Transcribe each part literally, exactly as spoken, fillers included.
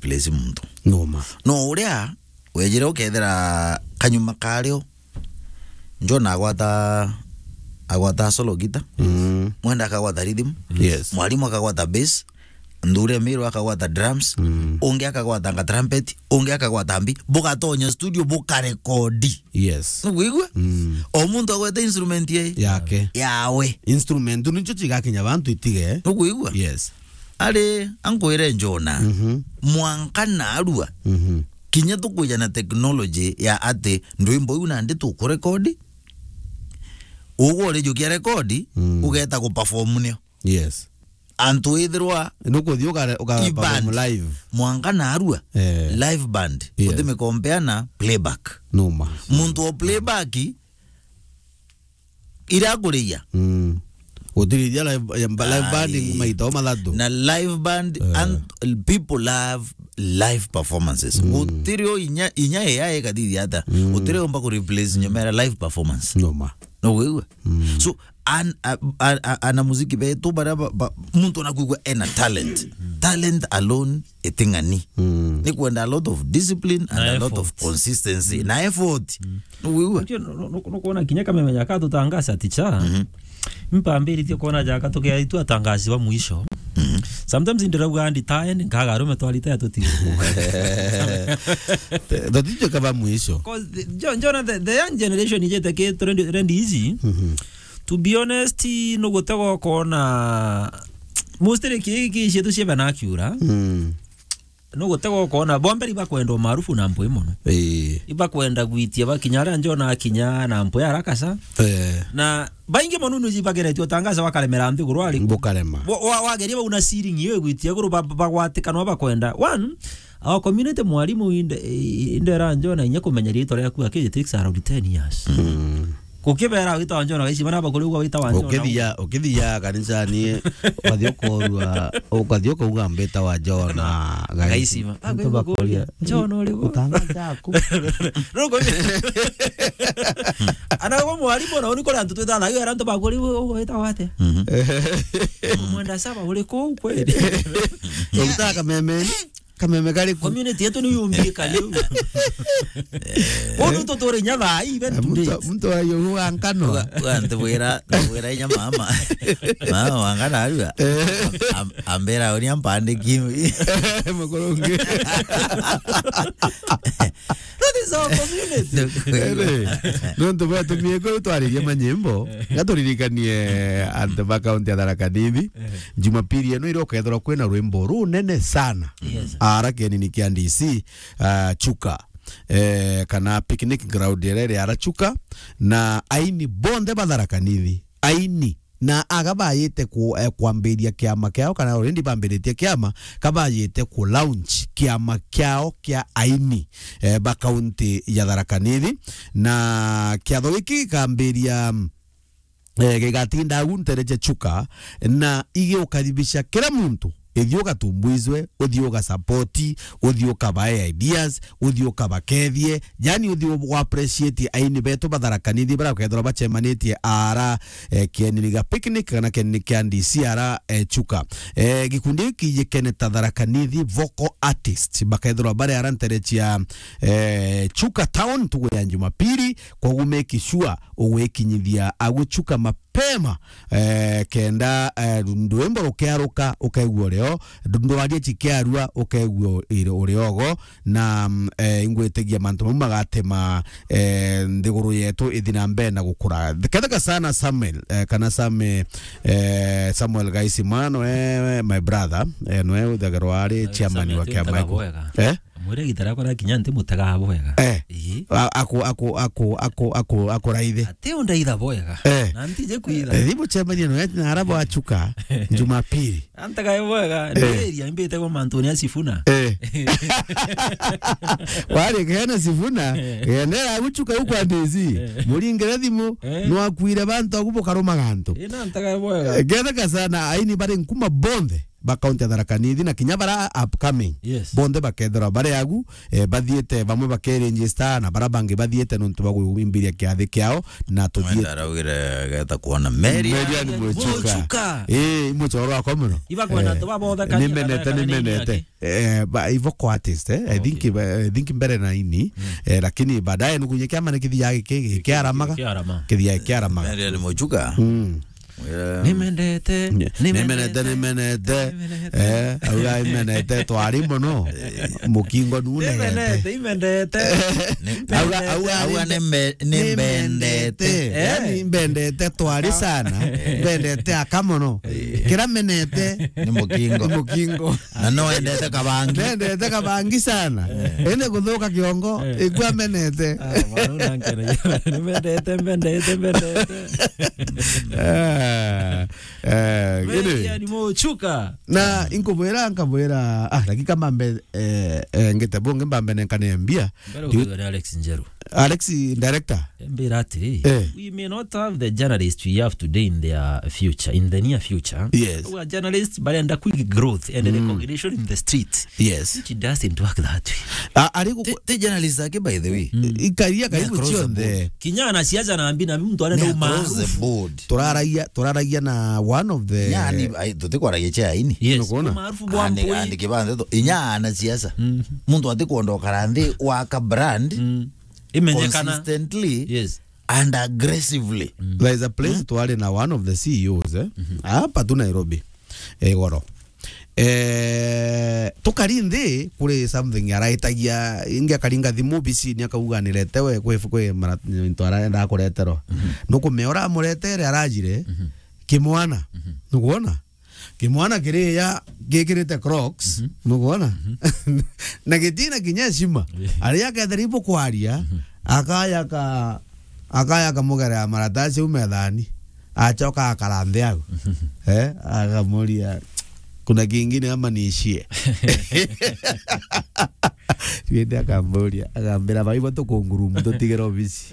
replace muntu. Noma. No uria wejire ukethira kanyuma kario, John agwata, agwata solo guitar. Mm. Mwenda akagwata rhythm. Yes. Mwalimu akagwata bass. Nthure Miro akagwata drums. Mm. Ungi akagwata nga trumpet. Ungi akagwata mbi. Bugatonya studio bukarekodi. Yes. Nukwigua? Mm. O muntu agwete instrument ye. Yake. Yawe. Instrument nicio cigakinya bantu itige. Nukwigua? Yes. Ari, ankwire Jona, mhm, mwanka narua, mhm, kinya tukwija na technology ya ati ndwimbo iu nandi tukurekodi, ugwe urijukia rekodi, mm, ugeta guperform nio. Yes. Antu ithirwa nukuthi uka, uka perform live. Mwanka narua, eh, live band, yes, utimikompea na playback. Noma. Muntu wa playback, iria akuriria. Mm. Gutiriria live, ya mba-, live band. Ai. Maita o mathatu. Na live band, eh, and people love live performances. Mm. Gutiri o inya, inya A I ikathithia ata. Mm. Gutiri omba ku replace nyomera live performance. Noma. No wigua? Mm. So, an, a, a, a, ana muziki betu baria ba, ba, muntu ona kwigua ena talent. Talent alone iting'ani. Mm. Ni kwenda a lot of discipline and a lot of consistency. Na effort. Mm. Nukwigua? Ndio, nu-, nu-, nukwona kinya kameme jaka tutangasa ticha. Mhm. Mpambiritie kwona jaka tukia itu atangazi wa mwisho. Mhm. Sometimes ndirauga ndi tae, nkaga arume twaritaya tuti. Tutitwe kaba mwisho. 'Cause the, jo-, Jona, the, the young generation ijete ki trend, trend easy. Mhm. To be honest, nugutega ukona mostly ki, ki cietu cia vernacular. Mm. Nugutega ukona, bomberi bakwenda umaarufu na mpwi mono. Ii. Ibakwenda gwitia bakinya aria Jona akinya na mpwi haraka sa. Eh. Na baingi mono nuji bageretie utangaza wakaremera nthiguru ari. Bukarema. Wa-, wa-, wageria bau na ceiling iyo igwitia iguru ba-, ba-, bagwatikanwa bakwenda. One, our community mwalimu inde, i-, indera Jona inya kumenya riitwa riaku aki, it takes around ten years. Mm. Gukibera wita wa Jona, gaicima naba kuri ugwa wita wa Jona. Ukithia, ukithia kanisani, ukathi ukorua, ukathi ukauga mbita wa Jona, gaicima. Gaicima. Antu bakuria, "Jona uri gu?" Utanga jaku. Ruko. Ana gwa mwalimu na uni kuri antu twitana, yu antu bakuria, "Ugwita wate?" Mhm. Mwenda saba uri kuu kweli? Ukitaka meme. Kameme kari ku? Community yetu ni yumbie kariu. Wonu tuturi nya thaa ii, even today. Muntu, muntu wa yuhu wa nkano. Uga, uga, ntibwira, ntibwira inya mama. Mama wa nkano arua. Eh. Am-, am-, ambira uria mpandiki. Mukurungi. That is our community. Ere, nontu bwatumie kuu twaririe manyimbo, ngaturirikanie antu ba kaunti ya Tharaka Nithi. Jumapili ino iria ukethirwa kwina rwimbo runene sana. Yes. Ara kienini kia D C, ah, Chuka. Eh, kana picnic ground iria iri ara Chuka. Na aini bonthe ba Tharaka Nithi. Aini. Na aga bayite ku, eh, kwambiria kiama kiao, kana already bambiritie kiama, kabayite ku launch kiama kiao kia aini, eh, ba kaunti ya Tharaka Nithi. Na kiatho giki gikambiria, mm, eh, gigatinda au ntere cia Chuka, na igiukaribisha kira muntu. Ithi ugatumbuizwe, uthi ugasapoti, uthi ukabae ideas, uthi ukabakethie, yani uthi u-, uappreciate aini betu ba Tharaka Nithi baria bakethirwa bacemanitie ara, eh, kienini gia picnic kana kienini kia D C ara, eh, Chuka. Eh, gikundi giki gikene ta Tharaka Nithi Vocal Artists, bakethirwa bari ara ntere cia, eh, Chuka Town ntugu ya Jumapili, koguo make sure ugwikinyithia agu Chuka mapema, eh, kenda, eh, rwimbo rukiaruka ukaigua urio, ndwaria cikiarua ukaigua iri-, uriogo, na, mm, eh, ingwitigia mantu mau magatema, eh, nthiguru yetu ithi na mbere na gukura. Ketheka sana Samuel, eh, kana Sam, eh, Samuel Gaisima, noe, my brother, eh, noe uthagirwa ari chairman wa kiama iku. Eh? Mwire gita riakwa riakinya nti mutega bwega. Eh. Ii. A-, aku, aku, aku, aku, aku, akuraithe. Ati undaitha bwega. Eh. Na ntije kwitha. Eh, thimu chemania no na arabo achuka Jumapili. Antega bwega. Eh. Nderia imbite kwa mantu ni asifuna. Eh. Wari kena sifuna, eh, genera guchuka huko andizi. Eh. Muringire thimu, eh, no akwire bantu agubo karuma gantu. Ina antega bwega. Eh, getheka sana aini bari nkuma bonthe. ba county ya Tharaka Nithi, na kinya bara upcoming. Yes. Bonthe bakethirwa bari agu, eh, bathiite, bamwe bakeregister, na bara bangi bathiite nontu bwa gwimbiria kiathi kiao, na tuthiite. Mwenda araugire geta kuona Marian. Marian Muchuka. Muchuka. Eh, muchoro wakwa muno. Ibakwenda. Eh, tu babothe kanya nimenete, kathaka nimenete. Eh, ba, ivo kwa artist, eh. I think, okay, ba, I think mbere na ini, mm, eh, lakini baadaye nukunye kiama ni kithia giki-, kiaramaga. Kiarama. Kithia kiaramaga. Marian Muchuka. Mm. Yeah. Nimendete, ni-, nimenete, nimenete. Nimenete. Eh, auga imenete twari mono. Mukingo nunegete. Nimenete, imendete. Auga, auga, auga nime-, nimbendete. Nimbendete. Eh? Yani mbendete twari sana. Mbendete aka mono. Eh. Kira menete ni mukingo. Ni mukingo. Na no endete kabangi. Nendete kabangi sana. Eh. Ende kuthuka kiongo, eh, ikua menete. Ah, mwana una nkene. Nimendete, mbendete, mbendete. Ah, eh, gini. Marian Muchuka. Na inkubwira, nkabwira, ah, lakini kama mbe, eh, eh, ngite bungi mbambe nenkane mbia. Mbere ukethwa ni Alex Njeru. Alex director. Mbira atiri, eh, we may not have the journalists we have today in their future, in the near future. Yes. Our journalists barenda quick growth and, mm, recognition in the street. Yes. Which doesn't work that way. A-, ari guku- Ti, ti journalist ake, by the way. Mm. Ikaria karibu across the board. Cionthe. Kinya anasiasa na mbi na mtu anaenda umaarufu. Ni across the board. Turaragia, turaragia na one of the. Yani, ai, tutikwaragia cha ini. Yes. Nukwona? Umaarufu bwa mpui. Andi kibande to. Inya anasiasa. Mm. Muntu atikwenda ukara nthi waka brand. Mm. Imenyekana. Consistently. Yes. And aggressively. Mm. There is a place, mm, twari na one of the C E Os, eh? Mm-hmm. Hapa tu Nairobi. Igoro. Eh, tukari nthi kuri something araitagia, ingi akaringa thimu bicini akauga niretewe kwi, kwi mara-, into arenda kureterwa. Mhm. Nukumea uramuretere arajire, mhm, kimwana. Mhm. Nukwona? Kimwana kiriya gikirite Crocs, mhm, nukwona? Mhm. Na gitina kinya heshima. Yeah. Aria akethira ibukwaria, mhm, akaya ka-, akaya kamugera ya maratasi au methani. Acoka akara nthi au. Eh, akamuria, "Kuna kingine ama niishie?" Riende akamburia, akambira, "Baibo tukungurumu, tutigire obisi."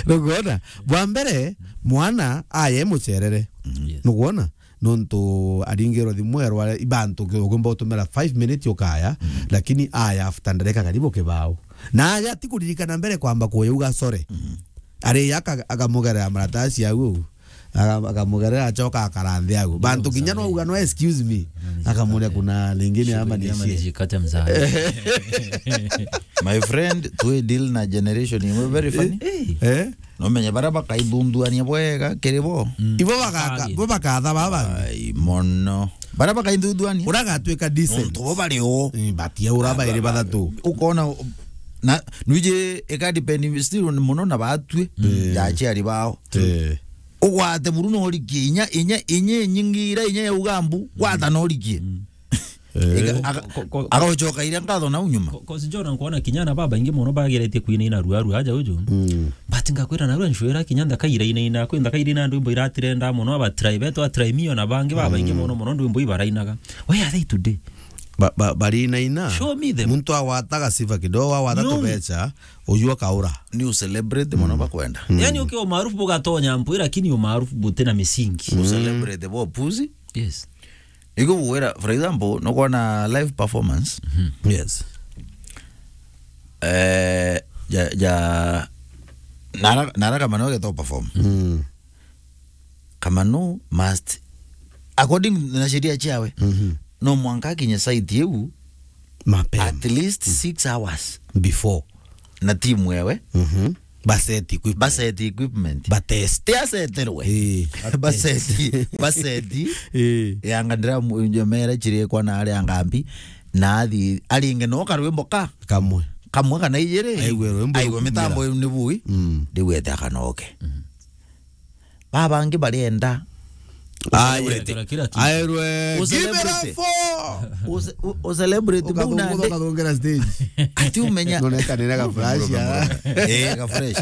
Nukwona? Bwa mbere, mwana aye mucerere. Mm, yes. Nukwona? Nontu aringirwe thimu erwa ibantu ki-, ukumba utumira five minutes ukaya, mm, lakini aya after ndareka karibu kibao. Na aja ti kuririkana mbere kwamba kuyuga sorry. Mm. Ari aka-, akamugerera maratasi au, aka-, akamugerera acoka akara nthi au. Bantu kinya no uga no excuse me. Akamuria kuna lingine ama niishie. Kata mzaa. My friend, twi deal na generation imwe very funny. Eh? Eh? No menye baria bakaithunduania bwega kiri bo. Mm. Ibo bakaka-, bo bakatha baba. Ai, mono. Baria bakaithunduania. Uragatwika decent. Nontu bo bari o. Mm, batia ura bairi bathatu. Ukona, na, nwiji ika depend still mono na batwi. Mm. Ya aciari bao. Eh. Ugwate buru no rikie inya, inya, inya inyingira, inya ya ugambu, gwata no rikie. Mm. Eh. Ika-, aka-, ko-, ko-, agacoka iria nkatho nau nyuma. Ko-, kosi John, nkwona kinya na babaingi mono bageretie kwinaina rua rua aja uju. Mm. But ngakwira narua nshwira kinya nthaka irainaina, kwi nthaka iraina ndwimbo iratirenda mono, aba try betu, a try mio na bangi babaingi, mm, mono mono ndwimbo ibarainaga. Where are they today? Ba-, ba-, barinaina. Show me them. Muntu awataga sifa kidogo, awata tubecha, uyu akaura. Ni u celebrate mono, mm, bakwenda. Mm. Yani ukiwa maarufu bugatonya mpwi, lakini umaarufu butina misingi. U, mm, celebrate bo puzi. Yes. Igo gwira, for example, nukwona live performance. Mhm. Yes. Eh, ja, ja, nara, nara Kamano geto perform. Mm. Kamano must, according na sheria ciawe, mhm, no mwanka akinye site iu mapema, at least, mhm, six hours before. Na timu ewe. Mhm. Ba set equipment. Ba set equipment. Ba test. Ti aseterwe. Eh. Ba set, ba set. Eh. Yanga ndira mu-, njomera chirikwa na ari angambi. Na athi, aringe no karwimbo ka. Kamwe. Kamwe kana ijiri. Aigue rwimbo. Aigue mitambo ni bui. Mm. Riu ete akanoke. Mm. Babangi barienda. Aye, kila kitu. Aerwe, "Give it up for." Uce-, u-, u-celebrity. Ukathungu-, muna nde. Ukathungera stage. Ati umenya. Noneka nina ga flash ya. Eh, ga fresh.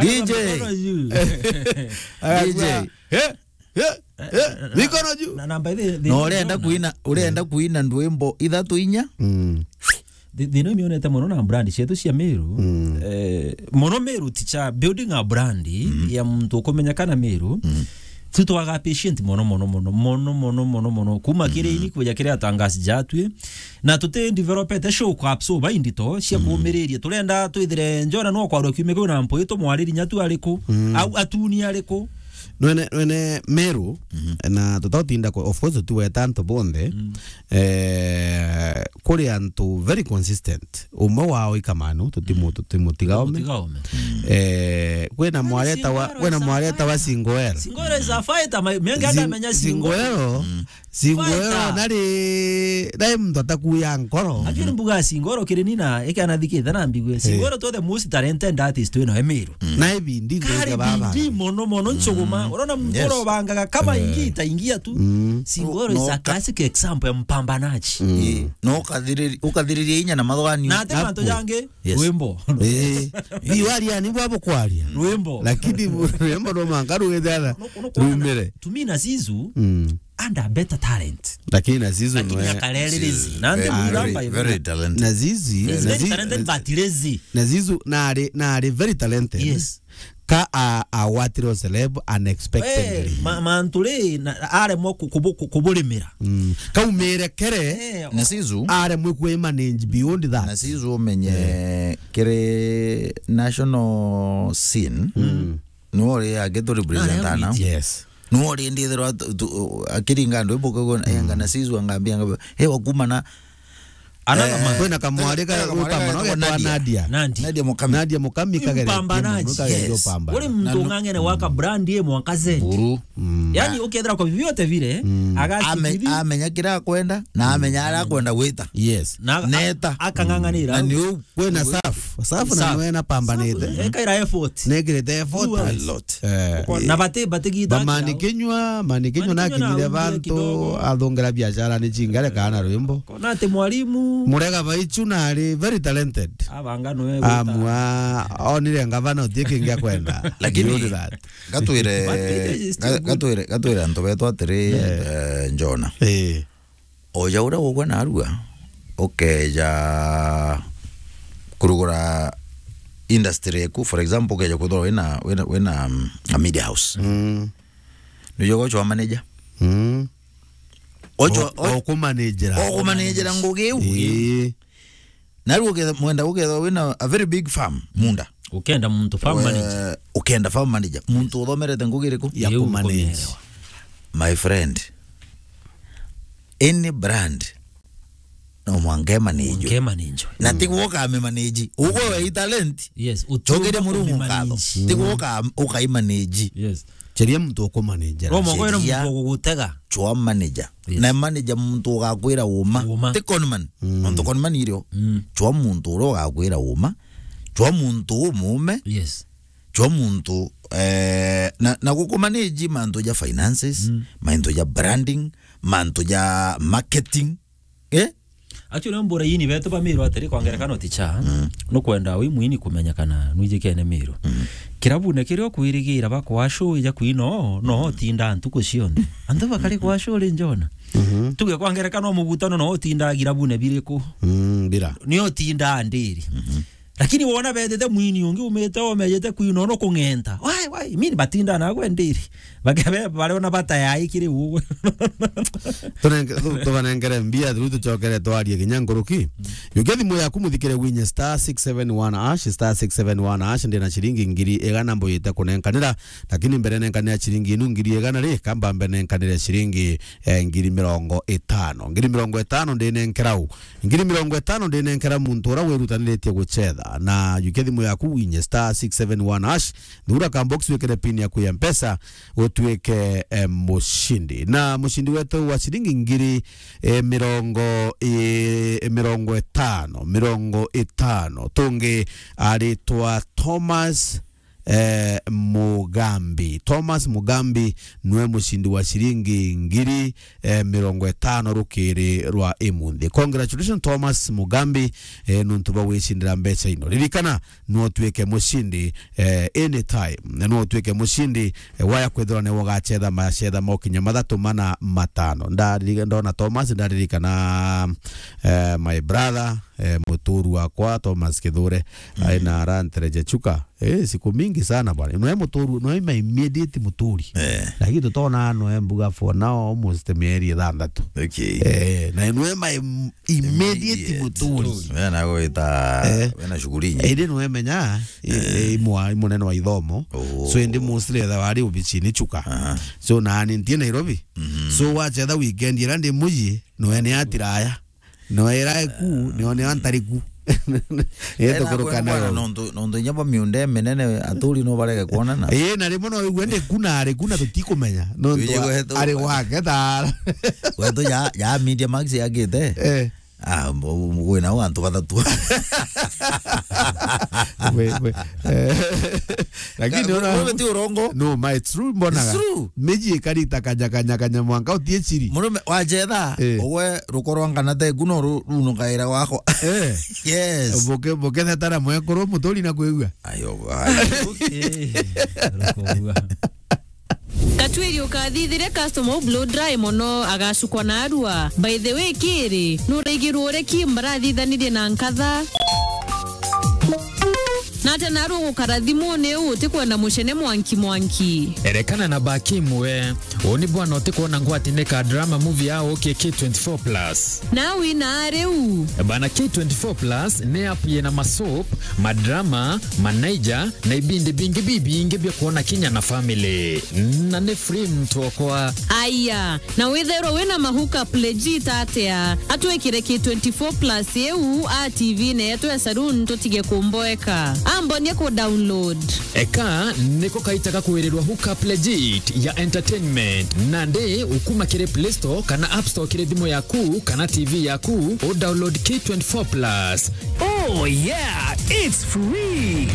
D J. Mikono juu. D J. Eh, eh, eh, mikono juu. Na, na by the way, no, urenda kuina, urenda kuina ndwimbo ithatu inya? Mm. Thi-, thina imionete mono na brand cietu cia Meru. Mm. Eh, mono Meru ticha building a brand, mm, ya muntu ukumenyekana Meru. Mm. Tu twaga patient mono, mono, mono, mono, mono, mono, mono. Kuma kiri ini kuja kiri atangasi jatwi. Na tuti developete show kwa apps bai ndito cia kumiriria. Turenda twithire Njona no kwarwa kiumia kiu na mpwi tumwariri nya tu ariku. Au atuni ariku. Nwene, nwene Meru, na tutatinda kwa, of course, tuweta antu bonthe. Eh, kuri antu very consistent. Umwe wao ikamanu, tutimu-, tutimutiga ome. Mutiga ome. Eh, kwina mwari etawa, Singoro kwina is a mwari etawa fighter. Singoero. Singoro is a fighter, ma-, menga Sing-, ndamenya Singoro. Singoero, Singoero Fighter. nari, nari muntu atakuya nkoro. Lakini mbuga Singoro kiri nina, eke anathikite na mbigue. Singoro to the most talented artist wina Emiru. Na ibindi Kari ndege baba. Bindi mono mono ncuguma. Urona muntu Yes. urobangaga kama ingi itaingia tu. Singoro No, is a no, ka- classic example ya mpambanaji. Ii, no ukathiriri-, ukathiriria inya na mathwani. Na ate mantu Naku. jangi, Yes. rwimbo. Eh, bi waria ni bwa bukwaria. Rwimbo. Lakini bu-, rwimbo no manga rugethana. No, no, kwona Rumire. To me na Zizu, Mm. under better talent. Lakini na Zizu Lakini nwe akarere lazy. Na ante Very, muramba very, very talented. Na Zizi, He's na very Zi-, talented, but lazy. Na Zizu nari, nari very talented. Yes. Ka a, agwatirwo celeb unexpectedly. Eh, ma-, mantu ri, na, aremwa ku-, kubu-, ku-, kuburimira. Mm. Kaumire kere. Eh, Na Zizu. Aremwe kwi manage beyond that. Na Zizu umenye kiri national scene. Mm. Niwe uri age tu represent Aria ana. witi. Yes. Niwe uri ndithirwa tu-, tu-, akiringa andu ibuka go, enga na Zizu angambia ngamba, "Hey, wakuma na Another Eh, man. Kwina kamwari ka kwina kamwari ka Upamba, no getwa Nadia. Nadia. Nandi. Nadia Mukami. Nadia Mukami kagere Upamba Kimo, Nadia. Kagere Yes. Upamba. Uri muntu Na no- ung'ang'ene waka brand ye mwaka Z. Buru. Mm. Yani ukethira kwa vyovyote vile, Mm. agasi Ame-, kithi. Amenya kira akwenda, na amenya ara akwenda gwita. Yes. Na Neta. akang'ang'anira. Na ni u Kwina Safu. Safu na Safu. Nwe na pambanite. Safu, ekaira effort. Nekirite effort. Do well. A lot. Eh. Na bati, bati gita Bamani kiao. Kinywa, Mani Kinywa Mani Kinywa nakinyire na bantu, kidogo. Athongera biashara ni chingare kana rwimbo. Kona ati mwalimu. Murega Baichu na ari very talented. Abanga nwe gwita. Amua, onire ngavana utie kingi akwenda. Lakini Beyond that. Gatwire, But it is still ga-, good. gatwire, gatwire antu betu atiri, Yeah. eh, Njona. Eh. Oja uria ugwe narua, ukeja kurugura industry eku, for example, ukeja kwithirwa wina, wina, wina, um, a media house. Mm. Nijo gochwa manager. Mm. Ochwa, O-, o-, okumanagera. Okumanagera ngugi iu. Ii. Narua uketha, mwenda uketha wina a very big farm, munda. Ukenda muntu farm Eh, manager. Ukenda farm manager. Muntu uthomerete ngugi iriku? Ya Iu kumanage. Nkumielewa. My friend, any brand, no mwanka imanage. Mwanka imanage. Na ti gwoka ame manage. Ugwe we i talent. Yes, uti Chokeria umba Murungu kumimanage. Nkatho. Ti gwoka am-, uka imanage. Yes. Cheria muntu ukumanagera. Roma kwera Cheria. Muntu ugugutega. Chwa manager. Yes. Na manager muntu ugakwira uma. Uma. Ti conman. Mm. Nontu conman irio. Mm. Chwa muntu uria ugakwira uma. Chwa muntu umume. Yes. Chwa muntu, eh, na, na gukumanage mantu ja finances, Mm. mantu ja branding, mantu ja marketing. Eh? Actually, mbura ini betu ba Miru atiri kwa ngerekano ticha. Mm. Nukwenda wi mwini kumenyekana nwijikene Miru. Mm. Kirabune kiria ukwirigira bakwa show ija kwino, no utinda ntuku cionthe. Antu bakari kwa show ri Njona. Mhm. Tuge kwa ngerekano mugutano no utinda girabune biriku. Mm, bira. Ni utinda ndiri. Mhm. Lakini wona betete mwini ungi umite omejete kwina ono kung'enta. Wai, wai, mini batinda nagwe ndiri. Bakebe, bariona bata yai kiri ugwe. Tunenge-, tu-, tubanengere mbia, through tucokere twarie kinya nkuruki. Yukia thimu yaku muthikire winye star six seven one hash, star six seven one hash, ndina ciringi ngiri igana mbuyite kunenkanira. Lakini mbere nenkanira ciringi inu ngiri igana ri, kamba mbe nenkanire ciringi, eh, ngiri mirongo itano. Ngiri mirongo itano ndinenkerau. Ngiri mirongo itano ndinenkera muntu uria wirutaniritie gucetha. Na yukia thimu yaku winye star six seven one hash, thura ka box wikire pin yaku ya Mpesa, utuike, eh, mucindi. Na mucindi wetu wa ciringi ngiri, eh, mirongo, eh, mirongo itano, mirongo itano. Tungi aritwa Thomas eh, Mugambi. Thomas Mugambi nwe mucindi wa ciringi ngiri, eh, mirongo itano rukiri rwa imunthi. Congratulations, Thomas Mugambi, eh, nuntu bwa gwicindira mbeca ino. Ririkana, no utuike mucindi, eh, anytime. Na no utuike mucindi, eh, waya kwithirwa niwe ugacetha macetha mokinya mathatu, mana, matano. Ndariri-, ndona Thomas, ndaririkana, Eh, my brother, eh, muturu wakwa Thomas Kithure, mm, aina arantereja Chuka. Eh, siku mingi sana bwana. Nwe muturu, nwe my immediate muturi. Eh. Lakini tutona nwe mbuga for now almost mieri ithanthatu. Okay. Eh, na nwe my m-, immediate, immediate muturi. Wena gwita, eh, wena shughuli nyingi. Indi nwe menya, i-, eh, i mwa-, i munene wa ithomo. Oh. So indi mostly etha wari obichini Chuka. Aha. So nani ntie Nairobi. Mhm. So wachetha weekend ira ndi muji, nwe ni atiraya. No era eku, ni one antari ku. Enda kuruka nayo. Nontu, nontu inya bo miunda minene aturi no barege kuonana. Eh, na rimwe no igue ndi ku na ari ku na tutikumenya. Nontu ari gwake thara. Gwetu ya, ya Media Max yagite. Eh. Ah, mbo-, mbo-, kwina antu bathatu. We, we. Eh. Lakini ka-, ona murume ti urongo. No, ma, it's true, mbonaga. It's true. Miji ikarita kanya, kanya, kanya mwanka utie chiri. Murume wa jetha, eh, ugwe rukorwa ngana te kuno ru-, runo kaira gwakwa. Eh. Yes. Boke, boke thetara mwekuru muturi na kwigua. Ayo, ayo. Okay. Rukoigua. Katwiri ukathithire customer u blow dry mono agacukwa na arua. By the way, kiri, nuraigirwo ure ki mbarathithanirie na nkatha? Nate naru gukara thimuni u utikwenda mucene mwanki mwanki. Erekana na Bakim we. Uu ni bwana utikwona ngwati ni ka drama movie ya ukie K twenty-four plus. Na wina riu. Bana K twenty-four plus ni app yina masoap, madrama, manaija, na ibindi bingi bibingi bia kwona kinya na family. Na ni free mtu okwa. Aya, na withairwa wina ma hookup legit atia? Atwikire K twenty-four plus iu a T V-ini yetu ya saloon tutige kumboeka. Ambonie ku download. Eka niko kaita ga kwirirwa hookup legit ya entertainment. Nandi ukuma kiri Play Store kana App Store kiri thimu yaku kana T V yaku, u download K twenty-four plus. Oh yeah, it's free.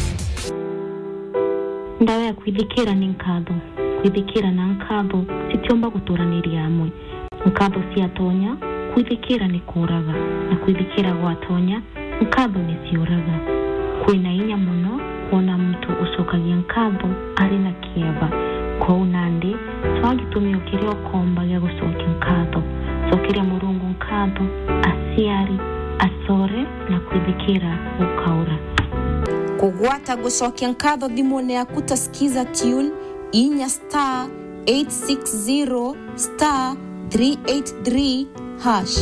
Ndawa ya kwithikira ni nkatho. Kwithikira na nkatho citiumba guturaniria amwe. Nkatho ciatonya, kwithikira ni kuuraga, na kwithikira gwatonya, nkatho ni ciuraga. Kwina inya mono kwona muntu ucokagia nkatho ari na kieba. Kwou nandi, cwaa gitumi o kiria ukomba gia gucokia nkatho. Cokeria Murungu nkatho, aciari, acore, na kwithikira gukaura. Kugwata gucokia nkatho thimune yaku ta Skiza Tune, inya star eight six zero star three eight three hash.